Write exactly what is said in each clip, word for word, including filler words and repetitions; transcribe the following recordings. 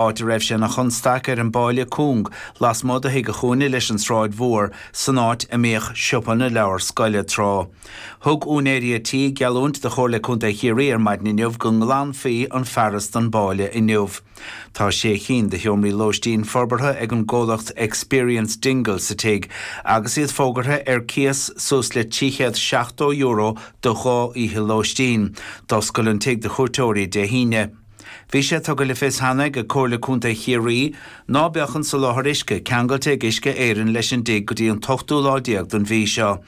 Áit a raibh sé ina chonstaic ar an bpáile cúng lasmuigh de Thigh a' Chúinne leis an tSráid Mhór san áit a mbíodh siopa na leabhar scoile tráth. Thug úinéirí a' tí geallúint do Chomhairle Contae Chiarraí ar maidin inniu go nglanfaí an fearas don bpáile inniu. Tá sé cinn de sheomraí lóistín forbartha ag an gcomhlacht Experience Dingle sa tigh agus iad fógartha ar cíos suas le trí chéad seachtó euro do dhá oíche lóistín. D'oscail an tigh do chuairteoirí Dé hAoine. Bhí sé tugtha le fios cheana ag Comhairle Contae Chiarraí ná beadh an soláthar uisce ceangailte ag Uisce Éireann leis an dtigh go dtí an t-ochtú lá déag den mhí seo.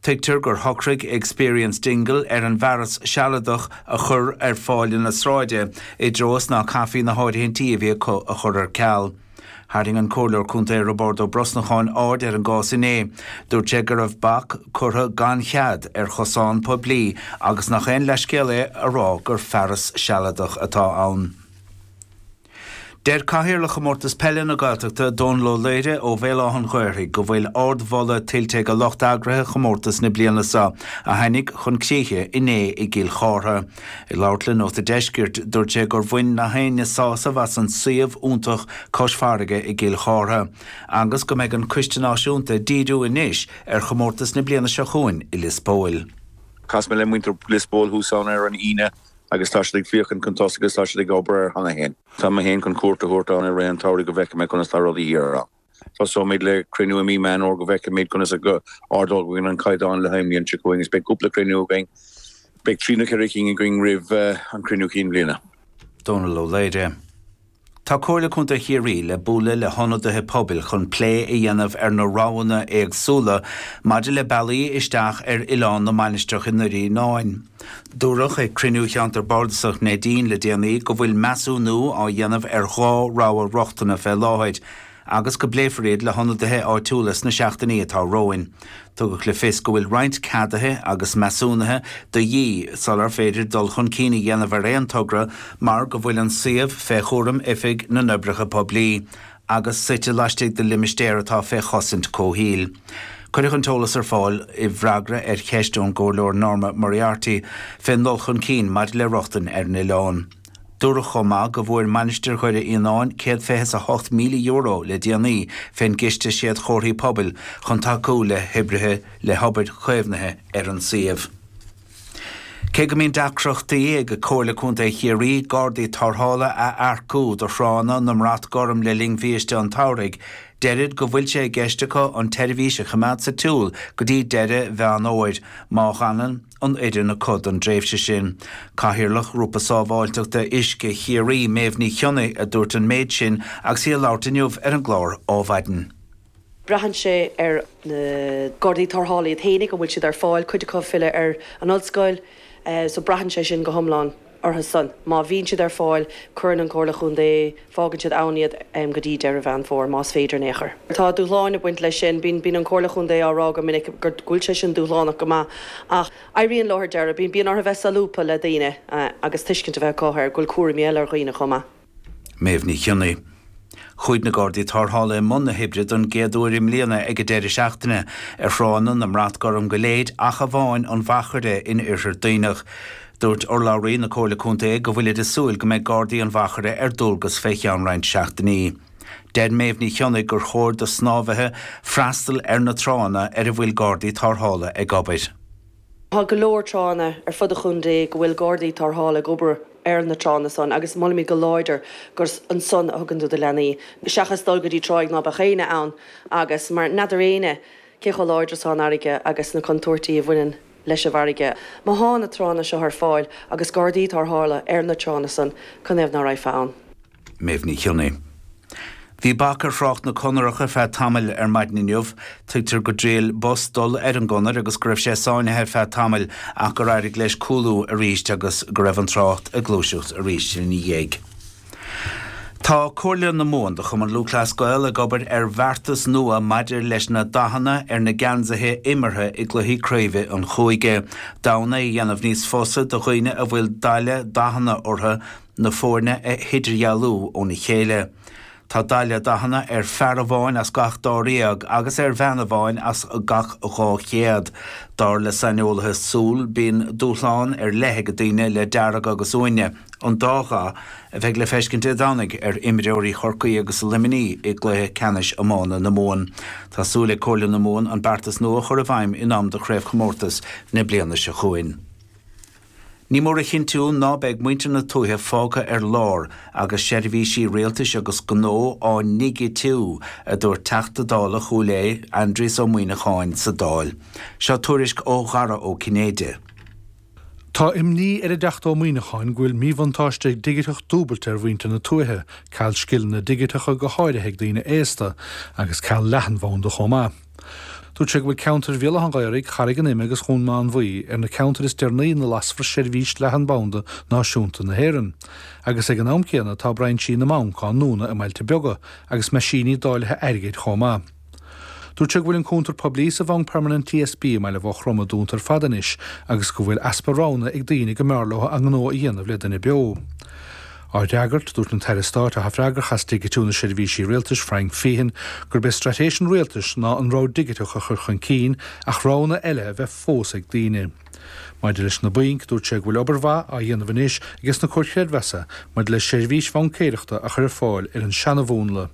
Tuigtear gur shocraigh Experience Dingle ar an bhfearas sealadach a chur ar pháile na sráide i dtreo is ná caithfí na háirithintí a bhí acu a chur ar ceal. Tharraing an Comhairleoir Contae Roibeárd Ó Brosnacháin aird ar an gcás inné. Dúirt sé go raibh bac curtha gan chead ar chosán poiblí agus nach aon leithscéal é a rá gur fearas sealadach atá ann. Deir Cathaoirleach Chomórtas Peile na Gaeltachta, Dónal Ó Laoire ó Bhéal Átha an Ghaorthaidh go bhfuil ardmholadh tuillte ag lucht eagraithe chomórtas na bliana seo, a tháinig chun críche inné i gCill Chártha. Ag labhairt le Nóta Deiscirt, dúirt sé gur bhain na héinne sásamh as an suíomh iontach cois farraige i gCill Chártha, agus go mbeidh an Coiste Náisiúnta ag díriú anois ar chomórtas na bliana seo chugainn i Lios Póil. Chas mé le muintir Lios Póil thuas ann ar an Aoine agus tá siad ag féachaint chun tosaigh agus tá siad ag obair air cheana féin. Tá mé féin chun cuairt a thabhairt ann i rith an tsamhraidh go bhfeicfidh mé conas tá rudaí thiar ann. Tosóimid le cruinniú i mí Meán Fómhair go bhfeicfimid conas a ardóidh an caighdeán le haghaidh an bhliain seo chugainn agus beidh cúpla cruinniú againn, beidh trí nó ceithre cinn againn roimh an cruinniú cinn bhliana. Dónal Ó Laoire. Tá Comhairle Contae Chiarraí le bualadh le hionadaithe pobail chun plé a dhéanamh ar na roghanna éagsúla maidir le bealaí isteach ar Oileán na Mainistreach i nDoire Fhíonáin. Dúradh ag cruinniú Cheantar Bardasach Neidín le déanaí go bhfuil measúnú á dhéanamh ar dhá rogha rochtana fé láthair agus go bpléifear iad le hionadaithe áitiúla sna seachtainí atá romhainn. Tugadh le fios go bhfuil roinnt ceaduithe agus measúnuithe de dhíth sular féidir dul chun cinn a dhéanamh ar aon togra mar go bhfuil an suíomh fé chúram Oifig na nOibreacha Poiblí agus suite laistigh de limistéar atá fé chosaint comhshaoil. Cuireadh an t-eolas ar fáil i bhfreagra ar cheist ón gComhairleoir Norma Moriarty fén ndul chun cinn maidir le rochtain ar an oileán. Dúradh chomh maith go bhfuair Mainistir Dhoire Fhíonáin céad fiche is a hocht míle euro le déanaí fén gCiste Séadchomharthaí Pobail chun tacú le hoibrithe le hobair chaomhnaithe ar an suíomh. Cé go mbíonn deacrachtaí ag Comhairle Contae Chiarraí gardaí tarrthála a earcú do thránna na mBrat Gorm le linn bhiaiste an tsamhraidh, deirid go bhfuil sé i gceist acu an tseirbhís a choimeád sa tsiúl go dtí deireadh Mheán Fhómhair, má fhanann an fhoireann acu don dtréimhse sin. Cathaoirleach Ghrúpa Sábháilteachta Uisce Chiarraí, Méabh Ní Chionnaith, a dúirt an méid sin agus í ag labhairt inniu ar an gclár Ádhmhaidin. Braitheann sé ar na Gardaí Tarrthála iad fhéinig, an bhfuil siad ar fáil, cuid acu ag filleadh ar an ollscoil, so braitheann sé sin go hiomlán orthu san. Má bhíonn siad ar fáil, cuireann an Chomhairle Chontae, fágann siad ann iad go dtí deireadh Mheán Fómhair, más féidir in aon chor. Tá dúshláin ag baint leis sin. Bíonn, bíonn an Chomhairle Chontae á rá go minic go bhfuil sé sin dúshlánach go maith ach éiríonn leo ar deireadh. Bíonn, bíonn orthu bheith solúbtha le daoine agus tuiscint a bheith acu ar go bhfuil cúraimí eile ar dhaoine chomh maith. Méabh Ní Chionnaith. Chuaigh na Gardaí Tarrthála i mbun na hoibre don gcéad uair i mbliana ag an deireadh seachtaine ar thránna na mBrat Gorm go léir ach amháin an Mhachaire in Oirthear Duibhneach. Dúirt urlabhraí na Comhairle Contae go bhfuilid ag súil go mbeidh Gardaí an Mhachaire ar dualgas fé cheann roinnt seachtainí. Deir Méabh Ní Chionnaith gur chóir do shnámhaithe freastal ar na tránna ar a bhfuil Gardaí Tarrthála ag obair. Tá go leor tránna ar fud an chontae go bhfuil Gardaí Tarrthála ag obair ar na tránna san agus molaimid go láidir gur ansan a thugann tú do leanaí seachas dul go dtí tráigh ná beadh éinne ann agus mar n'fheadar éinne cé chomh láidir is atá an fharraige agus na contúirtí a bhaineann leis an bhfarraige. Má thá na tránna seo ar fáil agus Gardaí Tarrthála ar na tránna san, canathaobh ná raghfá ann? Méabh Ní Chionnaith. Bhí bac ar thrácht na conarach ar feadh tamaill ar maidin inniu. Tuigtear go dtriail bus dul ar an gconair agus go raibh sé sáinnithe ar feadh tamaill ach gur éirigh leis cúlú arís agus go raibh an trácht ag gluaiseacht arís ina dhiaidh. Tá Comhairle na Mumhan do Chumann Lúthchleas Gael ag obair ar bheartas nua maidir leis na dathanna ar na geansaithe imeartha i gcluichí craoibhe an chúige, d'fhonn é a dhéanamh níos fusa do dhaoine a bhfuil daille dathanna orthu na foirne a hidirdhealú óna chéile. Tá daille dathanna ar fear amháin as gach dáréag agus ar bhean amháin as gach dhá chéad. Dar le saineolaithe súl bíonn dúshlán ar leith ag daoine le dearg agus uaine, an dá dhath a bheidh le feiscint Dé Domhnaigh ar imreoirí Chorcaí agus Luimnigh i gcluiche ceannais iomána na Mumhan. Tá súil ag Comhairle na Mumhan an beartas nua a chur i bhfeidhm in am do chraobhchomórtas na bliana seo chugainn. Ní mór a chinntiú ná beidh muintir na tuaithe fágtha ar lár agus seirbhísí rialtais agus gnó á ndigitiú, a dúirt Teachta Dála Chúil Aodha, Aindrias Ó Muimhneacháin sa Dáil. Seo tuairisc ó Dhara Ó Cinnéide. Tá imní ar an dTeachta Ó Muimhneacháin go bhfuil míbhuntáiste digiteach dúbailte ar mhuintir na tuaithe, ceal scileanna digiteacha go háirithe ag daoine aosta, agus ceal leathanbhanda chomh maith. Dúirt sé go bhfuil ceantair Bhéal Átha an Ghaorthaidh, Charraig an Ime agus Dhún Mánmhaí ar na ceantair is deireanaí ina lasfar seirbhís leathanbhanda náisiúnta na hÉireann. Agus ag an am céanna tá brainsí na mbanc á ndúnadh i mbailte beaga agus meaisíní dáilithe airgid chomh maith. Dúirt sé go bhfuil an cuntar poiblí sa Bhanc Permanent TSB i mBaile Mhaigh Chromtha dúnta ar fad anois agus go bhfuil easpa roghanna ag daoine go mb'fhearr leo a ngnó a dhéanamh le duine beo. Á fhreagairt, dúirt an tAire Stáit atá freagrach as digitiú na seirbhísí rialtais, Frank Feighan, gurb é straitéis an rialtais ná an rogha digiteach a chur chun cinn ach roghanna eile a bheith fós ag daoine. Maidir leis na bainc, dúirt sé go bhfuil obair mhaith á dhéanamh anois aige sna comhair chreidmheasa maidir le seirbhís bhaincéireachta a chur ar fáil ar an seanamhúnla.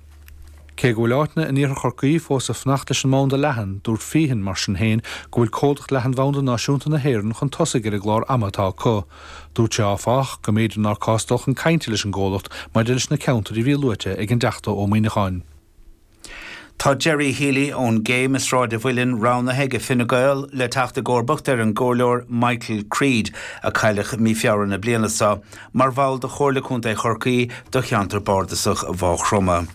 Cé go bhfuil áiteanna in iarthar Chorcaí fós ag fanacht leis an mbanda leathan, dúirt Feighan mar sin féin go bhfuil Comhlacht Leathanbhanda Náisiúnta na hÉireann chun tosaigh ar an gclár ama atá acu. Dúirt sé áfach go mb'fhéidir nár cás dul chun cainte leis an gcomhlacht maidir leis na ceantair a bhí luaite ag an dTeachta Ó Muimhneacháin. Tá Gerry Healy ón gCéim i Sráid an Mhuilinn roghnaithe ag Fine Gael le teacht i gcomharbacht ar an gcomhairleoir Michael Creed a cailleadh mí Feabhra na bliana seo mar bhall de Chomhairle Contae Chorcaí do cheantar bardasach Mhaigh Chromtha.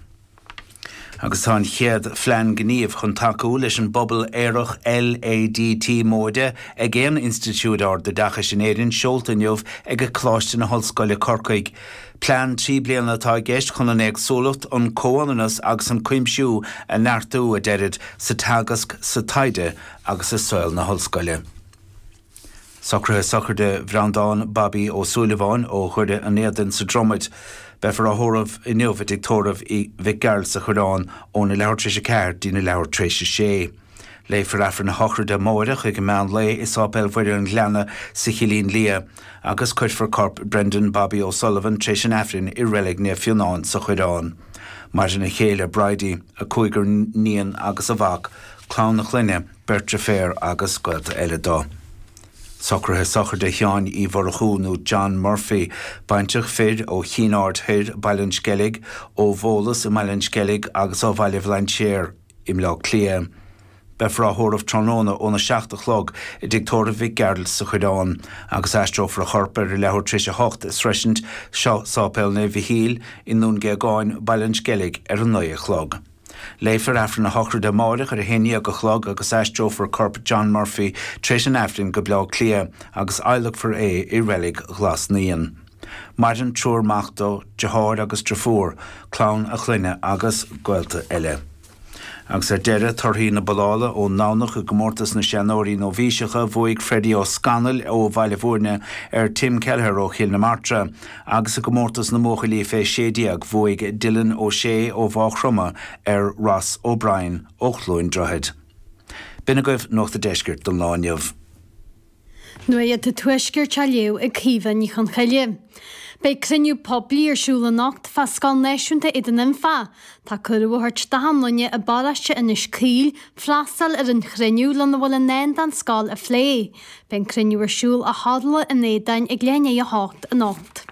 Agus tá an chéad phlean gnímh chun tacú leis an bpobal aerach LADT móide ag aon institiúid ardoideachais in Éirinn seolta inniu ag Coláiste na hOllscoile Corcaigh. Plean trí bliana atá i gceist chun an éagsúlacht, an comhionannas agus an cuimsiú a neartú a deirid sa teagasc, sa taighde agus i saol na hollscoile. Socruithe sochraide Bhreandán Bobby Ó Súilleabháin ó Dhoire an Éadain sa Dromaid. Beifear á thórramh inniu i dtigh tórraimh Mhic Gearailt sa Choireán óna leathuair tar éis a ceathair go dtína leathuair tar éis a sé. Léifear Aifreann a shochraide amáireach ag an meán lae i Sáipéal Mhuire an Ghleanna sa Chillín Liath agus cuirfear corp Brendan Bobby O'Sullivan tar éis an Aifrinn i Reilig Naomh Fionán sa Choireán. Maireann a chéile Bridie, a cúigear níon agus a mhac, clann a chlainne, beirt deirféar agus gaolta eile dó. Socruithe sochraide Sheáin Uí Mhurchú nó John Murphy, baintreach fir ó Chinn Aird Thoir, Baile an Sceilg, ó Bhólas i mBaile an Sceilg agus ó Bhaile Bhlainséir i mBleá Cliath. Beifear á thórramh tráthnóna óna seacht a chlog i dtigh tórraimh Mhic Gearailt sa Choireán agus aistreofar a chorp ar a leathuair tar éis a hocht i sroisint seo Sáipéal Naomh Mhichíl i nDún Géagáin, Baile an Sceilg ar a naoi a chlog. Léifear Aifreann a shochraide amáireach ar a haon déag a chlog agus aistreofar corp John Murphy tar éis an Aifrinn go Bleá Cliath agus adhlacfar é i reilig Ghlas Naíon. Maireann triúr mac dó, deartháir agus deirfiúr, clann a chlainne agus gaolta eile. Agus ar deireadh, torthaí na bollála ón nDomhnach i gcomórtas na seanóirí nóibhíseacha, bhuaigh Freddie Ó Scanaill ó Bhaile Bhúirne ar Tim Kelleher ó Chill na Martra, agus i gcomórtas na mbuachaillí fé sé déag, bhuaigh Dylan Ó Sé ó Mhaigh Chromtha ar Ross O'Brien ó Chluain Droichead. B'in agaibh Nuacht an Deiscirt don lá inniu. Nuacht an Tuaiscirt á léamh ag Caoimhe Ní Chonchoille. Beidh cruinniú poiblí ar siúl anocht fá Scoil Náisiúnta Aodan Infa. Tá cuireadh á thabhairt d'achan duine i bparóiste Inis Caoil freastal ar an chruinniú lena bhfuil i ndán don scoil a phlé. Beidh an cruinniú ar siúl i Halla an Aodáin ag leath i ndiaidh a hocht anocht.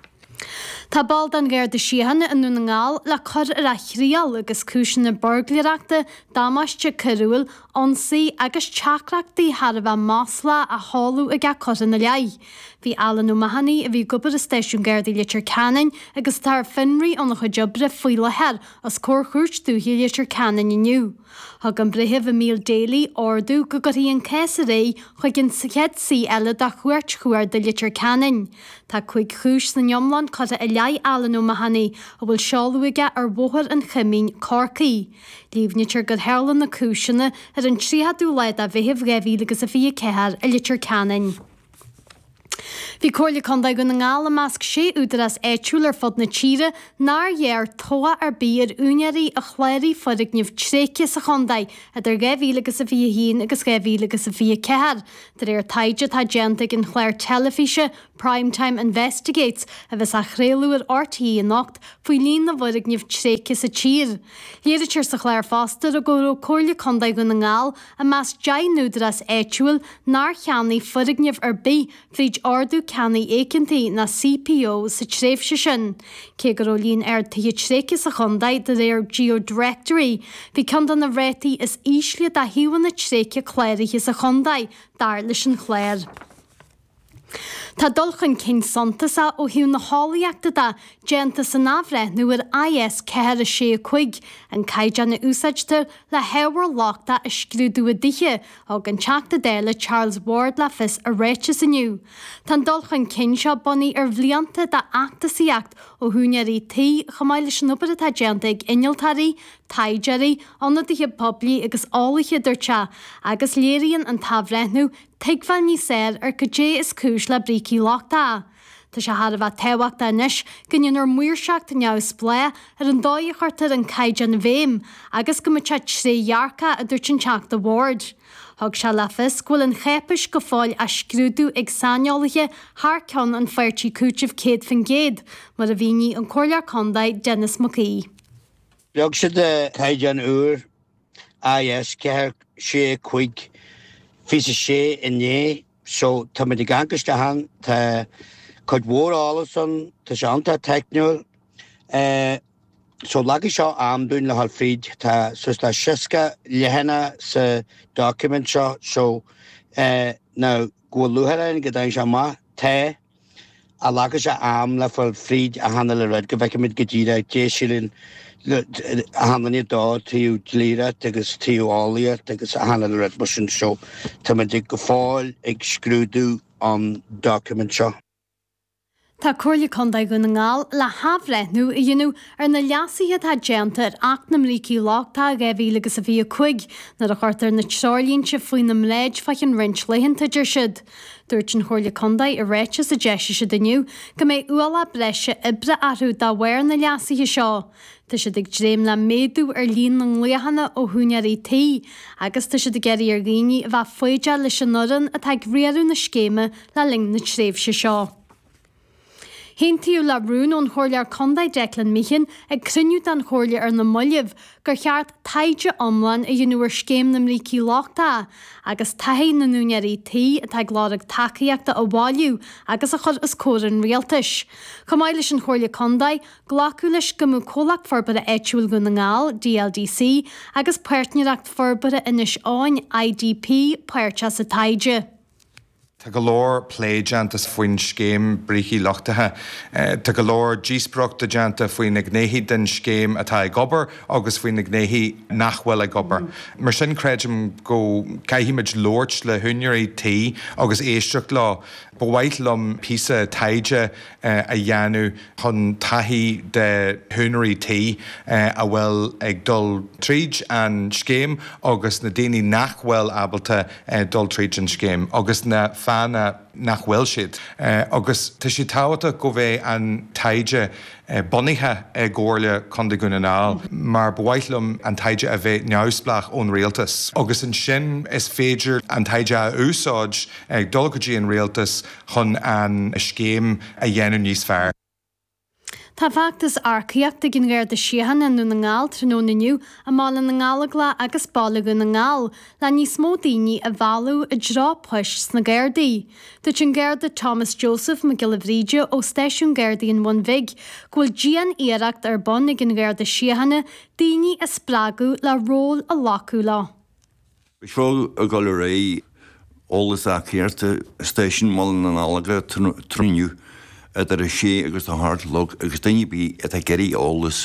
Tá ball den Gharda Síochána i nDún na nGall le cur ar a thriail agus cúiseanna buirgléireachta, damáiste coiriúil, ionsaí agus teachtaireachtaí thar a bheith maslach á sheoladh aige curtha ina leith. Bhí Alan O'Mahony, a bhí ag obair i Stáisiún Gardaí Leitir Ceanainn agus atá ar fionraí óna chuid oibre faoi láthair, os comhair Chúirt Dúiche Leitir Ceanainn inniu. Thug an Breitheamh Emile Daly ordú go gcuirfí an cás ar aghaidh chuig an chéad suí eile de Chúirt Chuarda Leitir Ceanainn. Tá cúig chúis san iomlán curtha i leith Alan O'Mahony, a bhfuil seoladh aige ar Bhóthar an Choimín, Corcaigh. Líomhnaítear gur tharla na cúiseanna ar an tríochadú lá de Mheitheamh dhá mhíle agus a fiche ceathair i Leitir Ceanainn. Bhí Comhairle Contae Dhún na nGall i measc sé údarás áitiúil ar fud na tíre nár ghearr tobhach ar bith ar úinéirí a chláraigh foirgnimh tréigthe sa chontae idir dhá mhíle agus a fiche haon agus dhá mhíle agus a fiche ceathair, de réir taighde atá déanta ag an chlár teilifíse Prime Time Investigates a bheas á chraoladh ar RTÉ anocht faoi líon na bhfoirgneamh tréigthe sa tír. Léirítear sa chlár fosta go raibh Comhairle Contae Dhún na nGall i measc deich n-údarás áitiúil nár cheannaigh foirgneamh ar bith fríd Ordú Ceannaigh Éigeantaigh ná CPO sa tréimhse sin. Cé go raibh líon ard tithe tréigthe sa chontae de réir GeoDirectory, bhí ceann de na rátaí is ísle de shuíomhanna tréigthe cláraithe sa chontae, dar leis an chlár. Tá dul chun cinn suntasach ó thaobh na heolaíochta de déanta san athbhreithniú ar IS ceathair a sé a cúig, an caighdeán a úsáidtear le hábhar lochtach a scrúdú i dtithe, thug an Teachta Dála Charles Ward le fios i ráiteas inniu. Tá an dul chun cinn seo bunaithe ar bhlianta d'fheachtasaíocht ó húinéirí tí chomh maith leis an obair atá déanta ag innealtóirí, taighdeoirí, ionadaithe poiblí agus eolaithe, a dúirt sé, agus léiríonn an t-athbhreithniú tuigbheáil níos fearr ar cad é is cúis le brící lochtacha. Tá sé thar a bheith tábhachtach anois go ndéanfar maoirseacht neamhspleách ar an dóigh a chuirtear an caighdeán i bhfeidhm agus go mbeidh sé trédhearcach, a dúirt an Teachta Ward. Thug sé le fios go bhfuil an cháipéis go fóill á scrúdú ag saineolaithe thar ceann an pháirtí cúitimh céad faoin gcéad, mar a mhínigh an Comhairleoir Contae Denis Mac Aoidh. Leag siad caighdeán úr IS ceathair sé cúig fiche sé inné so táimid ag amharc isteach ann, tá cuid mhór eolas ann, tá sé iontach teicniúil. So leagfaidh seo am dúinn le dhul fríd, tá suas le seasca leathanach sa document seo so now go bhfuil lúcháir orainn go dtagann sé amach, tá. Ach glacfaidh sé am le fáil fríd achan uile rud go bhfeicfimid go díreach caidé a síleann achan duine dó, taobh dlíreacht agus taobh eolaíocht agus achan uile rud mar sin so táimid go fóill ag scrúdú an document seo. Tá Comhairle Contae Dhún na nGall le hathbhreithniú a dhéanamh ar na leasuithe atá déanta ar Acht na mBrící Lochtacha dhá mhíle agus a fiche a cúig nuair a chuirtear na treoirlínte faoina mbráid fá cheann roinnt laethanta, a deir siad. Dúirt an Chomhairle Contae i ráiteas a d'eisigh siad inniu go mbeidh ualach breise oibre orthu de bharr na leasuithe seo. Tá siad ag dréim le méadú ar líon na nglaochanna ó húinéirí tí agus tá siad ag iarraidh ar dhaoine a bheith foighdeach leis an fhoireann atá ag riaradh na scéime le linn na tréimhse seo. Aontaíodh le rún ón Chomhairleoir Contae Declan Meehan ag cruinniú den Chomhairle ar na mallaibh gur cheart taighde iomlán a dhéanamh ar scéim na mbrící lochtacha agus taithí na n-úinéirí tí atá ag lorg tacaíochta a bhailiú agus a chur os comhair an rialtais. Chomh maith leis an Chomhairle Contae, glacadh leis go mbeadh Comhlacht Forbartha Áitiúil Dhún na nGall, DLDC, agus Páirtnéireacht Forbartha Inis Eoghain, IDP, páirteach sa taighde. Tá go leor plé déanta faoin scéim brící lochtacha. Tá go leor díospóireachta déanta faoi na gnéithe den scéim atá ag obair agus faoi na gnéithe nach bhfuil ag obair. Mar sin creidim go gcaithfimid labhairt le húinéirí tí agus éisteacht leo. Ba mhaith liom píosa taighde a dhéanamh chun taithí de húinéirí tí a bhfuil ag dul tríd an scéim agus na daoine nach bhfuil ábalta dul tríd an scéim agus na fáthanna nach bhfuil siad. Agus tá sé tábhachtach go mbeidh an taighde bunaithe i gComhairle Contae Dhún na nGall mar ba mhaith liom an taighde a bheith neamhspleách ón rialtas. Agus ansin is féidir an taighde a úsáid ag dul go dtí an rialtas chun an scéim a dhéanamh níos fearr. Tá feachtas earcaíochta ag an Gharda Síochána i nDún na nGall tráthnóna inniu i mBaile na nGallóglach agus Baile Dhún na nGall le níos mó daoine a mhealladh i dtreo poist sna Gardaí. Dúirt an Garda Thomas Joseph Mac Giolla Bhríde ó Stáisiún Gardaí an Bhun Bhig go bhfuil dian-iarracht ar bun ag an Gharda Síochána daoine a spreagadh le ról a ghlacadh leo. Beidh seo ag dul ar aghaidh eolas earcaíochta i Stáisiún Bhaile na nGallóglach tráthnóna inniu idir a sé agus a hocht a chlog agus duine ar bith atá ag iarraidh eolas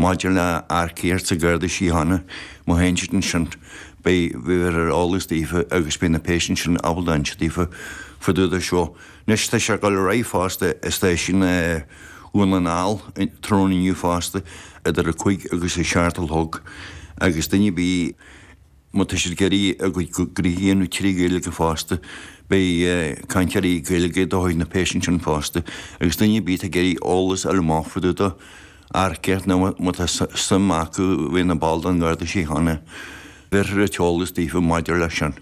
maidir le earcaíocht sa Gharda Síochána, má théann siad ansin beidh beifear ar eolas daofa agus beidh na pearsana sin ábalta inse daofa fá dtaobh de seo. Anois tá sé ag dul ar aghaidh fosta i Stáisiún Dhún na nGall tráthnóna inniu fosta idir a cúig agus a seacht a chlog agus duine ar bith Má tá siad ag iarraidh a gcuid gnoithí a dhéanamh trí Ghaeilge fosta, beidh cainteoirí Gaeilge do chuid na paisean sin fosta agus duine ar bith atá ag iarraidh eolas a fháil amach fá dtaobh de earcaíocht nó má tá suim acu bheith ina ball den Gharda Síochána, bhéarfar an t-eolas daofa maidir leis sin.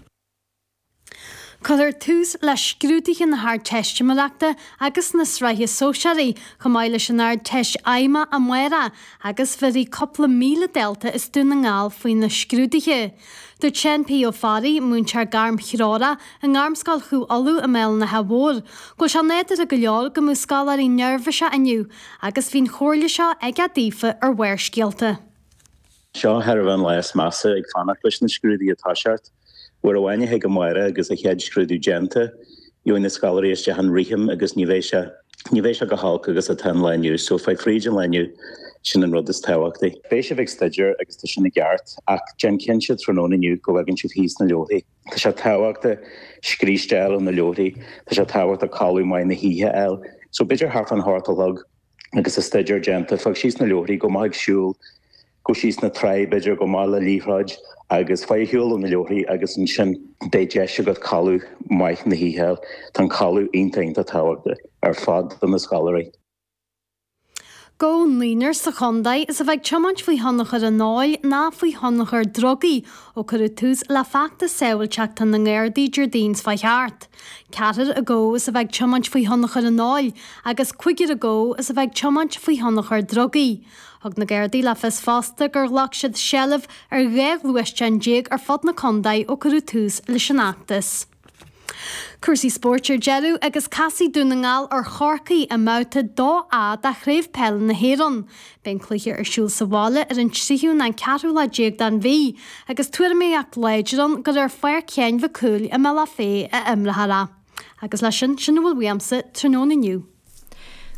Cuirfear tús le scrúduithe na hArdteistiméireachta agus na Sraithe Sóisearaí chomh maith leis an Ardteist Fheidhmeach amárach agus bhéarfaidh cúpla míle dalta as Dún na nGall faoi na scrúduithe. Dúirt Seán P. Ó Fearraigh, múinteoir gairmthreorach i nGairmscoil Chú Uladh i mBéal an Átha Mhóir, go bhfuil sé nádúrtha go leor go mbeadh scoláirí neirbhíseach inniu agus bhí an chomhairle seo aige daofa ar Bharrscéalta. Seo thar a bheith an lá is measa ag fanacht leis na scrúduithe ag toiseacht. Uair amháin a thig amárach agus an chéad scrúdú déanta, gheobhaidh na scoláirí isteach in rithim agus ní bheidh sé, ní bheidh sé chomh holc agus atá an lá inniu. So faigh fríd an lá inniu, sin an rud is tábhachtaí. Beidh sibh ag staidéar agus tá sin i gceart ach déan cinnte tráthnóna inniu go bhfágann sibh thíos na leabharthaí. Tá sé tábhachtach scríste a fháil ó na leabharthaí, tá sé tábhachtach codladh maith na hoíche a fháil. So b'fhéidir thart fán hocht a chlog agus an staidéar déanta, fág síos na leabharthaí, gabh amach ag siúl, Gabh síos na trá, b'fhéidir, gabh amach le liathróid agus faigh ar shiúl ó na leabharthaí agus ansin beidh deis agat codladh maith na hoíche a fháil. Tá an codladh iontach iontach tábhachtach ar fad do na scoláirí. Gabhadh naonúr sa chontae is a bheith ag tiomáint faoi thionchar an óil ná faoi thionchar drugaí ó cuireadh tús le feachtas sábháilteachta na nGardaí Déardaoin seo chuaigh thart. Ceathrar a gabhadh is a bheith ag tiomáint faoi thionchar an óil agus cúigear a gabhadh is a bheith ag tiomáint faoi thionchar drugaí. Thug na Gardaí le fios fosta gur ghlac siad seilbh ar dhá ghluaisteán déag ar fud na contae ó cuireadh tús leis an fheachtas. Cúrsaí spóirt ar deireadh agus casfaidh Dún na nGall ar Chorcaigh i mBabhta dó A de Chraobh Peile na hÉireann. Beidh an cluiche ar siúl sa bhaile ar an tríú nó an ceathrú lá déag den mhí agus tuairimíocht láidir ann gur ar Pháirc Sheáin Mhic Cumhaill i mBealach Féich a imreofar é. Agus leis sin, sin a bhfuil uaimse tráthnóna inniu.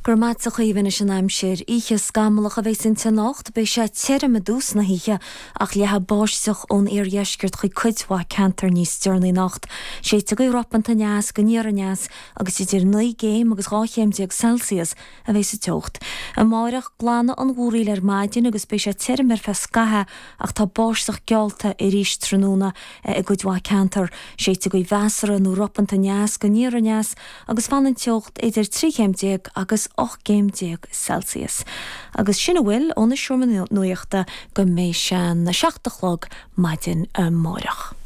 Go raibh maith agat a Chaoimhe anois an aimsir. Oíche scamallach a bheas inti anocht. Beidh sé tirim i dtús na hoíche ach leathfaidh báisteach ón iardheisceart chuig cuid mhaith ceantar níos deireanaí anocht. Séidfidh gaoth ropanta aneas go aniar aneas agus idir naoi gcéim agus dhá chéim déag Celsius a bheas sa teocht. Amáireach, glanfaidh an mhúraíl ar maidin agus beidh sé tirim ar feadh scaithimh ach tá báisteach geallta arís tráthnóna i gcuid mhaith ceantar. Séidfidh gaoth mheasartha nó ropanta aneas go aniar aneas agus fanfaidh an teocht idir trí chéim déag agus ocht gcéim déag Celsius. Agus sin a bhfuil ón Seomra Nuachta go mbeidh sé an seacht a chlog maidin amáireach.